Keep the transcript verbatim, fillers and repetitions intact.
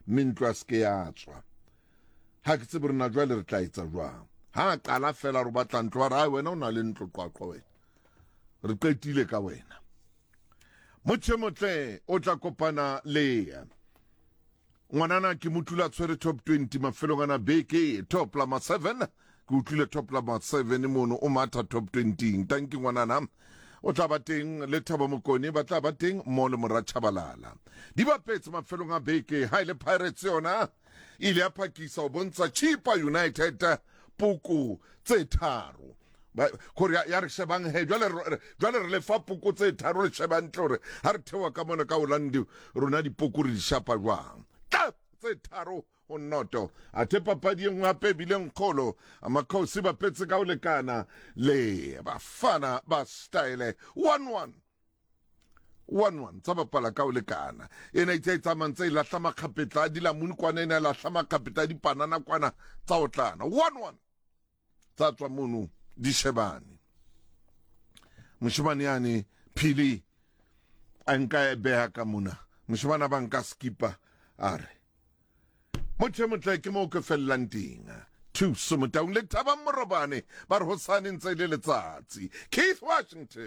Mme ntlo a se ke ya tswa. Ha ke tsebe rena jwale re tla etsa jwang. Ha a qala fela re batla ntlo, ba re, "Ai, wena o na le ntlo Qwaqwa wena. Re qetile ka wena." Motho e motle o tla kopana le ngwanana ke mo tlula tshwere top twenty mafelong ana beke, top lama seven. Ke utlwile top lama seven mono, o matha top twenty. Tanki ngwanana o tla ba teng le Thabo Mokone, ba tla ba teng mo le mora Chabalala. Di bapetse mafelong a beke. Ha ile Pirates yona ile ya phakisa ho bontsha Chipa United poko tse tharo. Ba- kore ya ya re shebang he, jwale re jwale re lefa poko tse tharo, re shebang ntle hore ha re theoha ka mona ka Orlando rona dipoko re di shapa jwang. Tla tse tharo ho noto. Athe papadi e nngwe hape e bileng kgolo, Amakhosi bapetse ka ho lekana le Bafana ba Style, one one, one one. Tsa bapala ka ho lekana. Ena itse e tsamayang tse e lahla makgapetla a dilamuni kwana, ena e lahla makgapetla a dipanana kwana, tsa otlana one one, tsa tswa mono di shebane. Moshemane yane phili a nka e beha ka mona, moshemane a ba nka skipa a re motho e motle ke moo ke fellang teng. Thuso Motaung le Thabang Morobane ba re hosane ntse e le letsatsi. Keith Washington.